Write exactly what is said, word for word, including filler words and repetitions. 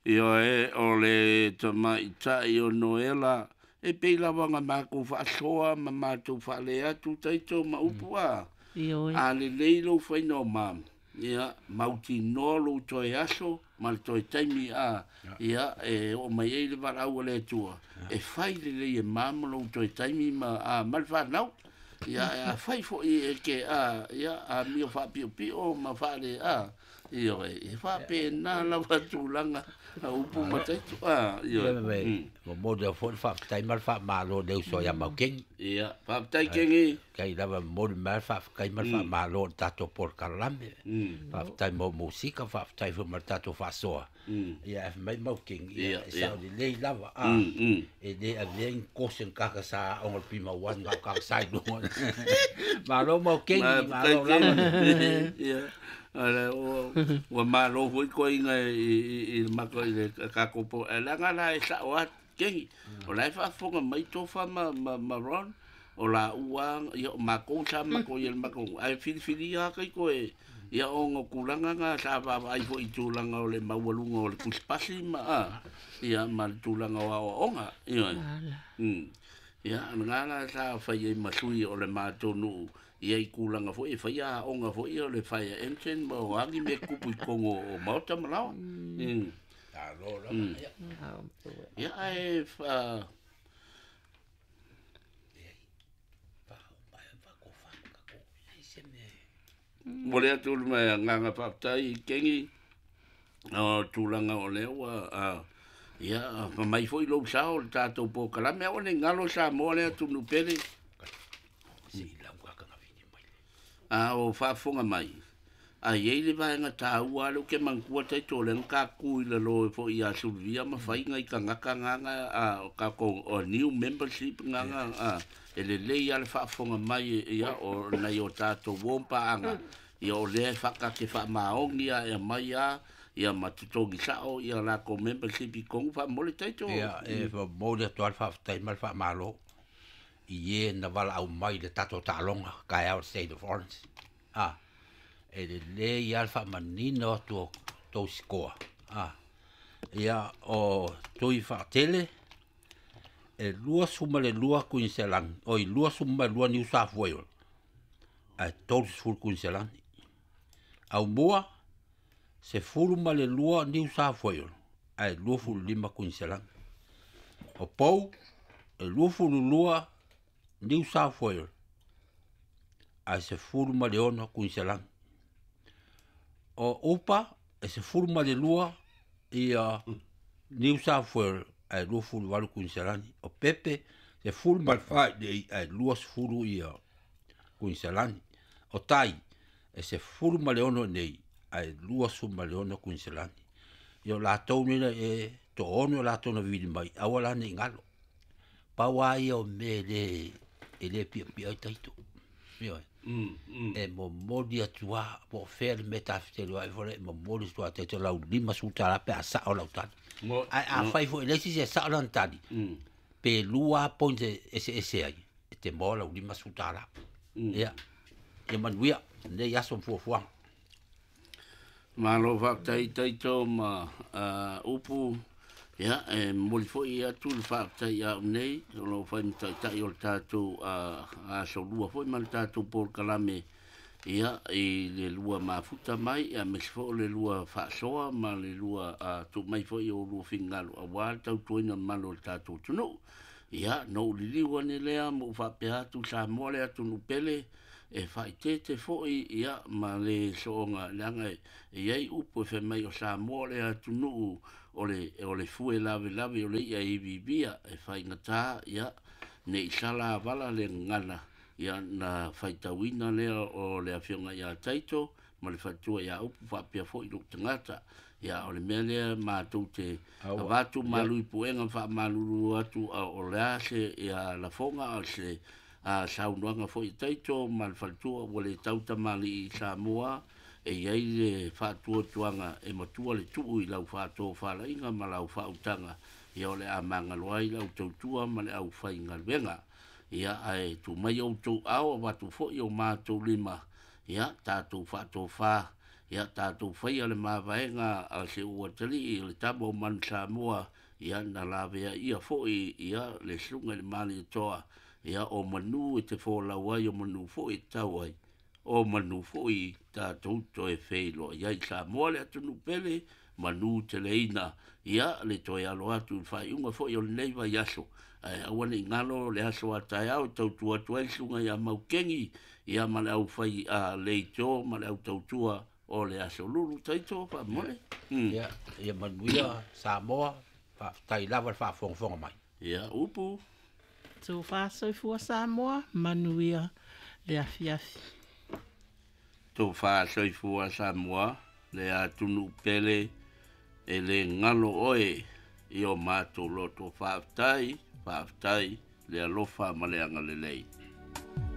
Ioe o le tamaitai o Noela e pei lava ona matou faasoa ma matou faale atu taito ma upu a. Ioe. A lelei lou faina o ma, ia, mautinoa lou toe aso ma le toe taimi a, ia, e oo mai ai le valaau a le Atua, e fai lelei e ma ma lou toe taimi ma, a, ma le fanau. Ia, e a fai foi e ke a, ia, a mio faapiopio ma faale a, ioe, e faapena lava tulaga a upu ma taito a, ioe. Ia me momoli atu foi le faafetai ma le faamalo i le uso ia Maukengi. Ia, faafetai Kengi. Kai lava momoli mai le faafetai ma le faamalo i le tatou polokalame. Faafetai mo musika, faafetai foi ma le tatou faasoa. Ia ae fai mai Maukengi, ia e sao lelei lava a. E le avea ni kose ni kaka sa aoga o le Pima One na o kaka sa i luga. Malo Maukengi, malo lava. Ia. Ala o ua malo foi koiga i i i le mako i le tatou po e leaga la e sa'o atu Kengi o la e faafofoga mai Tofa ma ma ma Ron o laua ia o makou sa makou ia le makou ae filifilia lava taito e ia ona o tulaga na sa vaavaai foi i tulaga o le maualuga o le tusipasi ma a ia ma le tulaga o aoaoga ia. Ia lena la sa fai ai ma sui o le matou nuu ia i tulaga foi e faia aoga foi o le fire engine ma o agi mea tupu i totonu o maota ma laoa. Malo lava. Ia ae fa momoli atu le agaga faafetai i Kengi o tulaga o lea ua ia fai mai foi lou sao i le tatou polokalame aua ne i galo Samoa le atunuu pele. A o faafofoga mai, a i ai le vaega taua lea ou te manatua taito o lea na tatou i lalo foi ia Suluvia ma fai nai tagata gana a o tatou o new membership gana a e lelei lava le faafofoga mai ia o nai o tatou uo ma paaga ia o lea e faakate faamaoni a e aumai a ia ma totogi sa'o ia latou membership i totonu faamomoli taito. Ia e momoli atu lava le faafetai ma le faamalo i e na valaau mai i le tatou taaloga taeao i le State of Orange. A e lelei lava le faamanino atu o tou sikoa. A ia o Tui Faatele e luasefulu ma le lua Kuiniselani, oi luasefulu ma le lua Niu Safuaiole ae tolusefulu Kuiniselani. Aumua sefulu ma le lua Niu Safuaiole ae luafulu lima Kuiniselani. O Pou e luafulu lua Niu Safuaiole ae sefulu ma le ono Kuiniselani. O Upa e sefulu ma le lua ia Niu Safuaiole ae luafulu valu Kuiniselani. O Pepe sefulu ma le fa i nei ae luasefulu ia Kuiniselani. O Tai e sefulu ma le ono nei ae luasefulu ma le ono Kuiniselani. Ia o latou nei e toaono latou na vivili mai aua la nei galo. Pau lava ia o mea e le e le piapia ai taito. Ioe. E momoli atu lava po o fea le mea tafetelu ai foi e momoli atu lava taito lau limasefulu tala pe a sao lau tali. Ae afai foi e leai se isi e sao lana tali, pe lua lava points e eseese ai, e te maua lau limasefulu tala. Ia, ia manuia lenei aso ma fuafuaga. Malo faafetai taito ma upu. Ia, e momoli foi atu le faafetai ia au nei, o lo o fai ma taitai o le tatou aso lua foi ma le tatou polokalame, ia, i le lua mafuta mai, aemaise foi o le lua faasoa ma le lua tuu mai foi o lua finagalo aua le tautuaina mamalu o le tatou atunuu. Ia, na ou liliu ane lea ma ou faapea atu Samoa le atunuu pele, e faaeteete foi ia ma le sooga leaga e i ai upu e fai mai o Samoa le atunuu o le o le fue lavelave o le i'a e iviivia e faigata ia ne i sala avala le gagana ia na faitauina lea o le afioga ia Taito ma le faletua ia Upu faapea foi lou tagata. Ia o le mea lea matou te avatu malu i puega faamalulu atu a o le a se ia lafoga o se a saunoaga foi Taito ma le faletua ua le tau tamalii i Samoa e i ai le faatuatuaga e matua le tuu i lau faatofalaiga ma lau faautaga ia o le a magalo ai lau tautua ma le aufaigaluega. Ia ae tuu mai outou ao avatu foi o matou lima ia tatou faatofa Ia tatou faia le mavaega a se ua talii le tama o manu Samoa, ia na lavea ia foi ia le susuga i le Malietoa, ia o manu e te folau ai, o manu foi e tau ai, o manu foi tatou toe feiloai ai. Samoa le atunuu pele, manu teleina, ia le toe alo atu i le faaiuga foi o lenei vaiaso. Ae aua ne i galo le aso a taeao e tautua atu ai le susuga ia Maukeni, ia ma le aufai a leitio ma le au tautua o le aso lulu taito faamole. Ia, ia manuia Samoa, faafetai lava le faafogafoga mai. Ia, upu. Tofa soifua Samoa, manuia le afiafi. Tofa soifua Samoa, le atunuu pele, e le galo oe i o matou loto. Faafetai, faafetai le alofa ma le agalelei.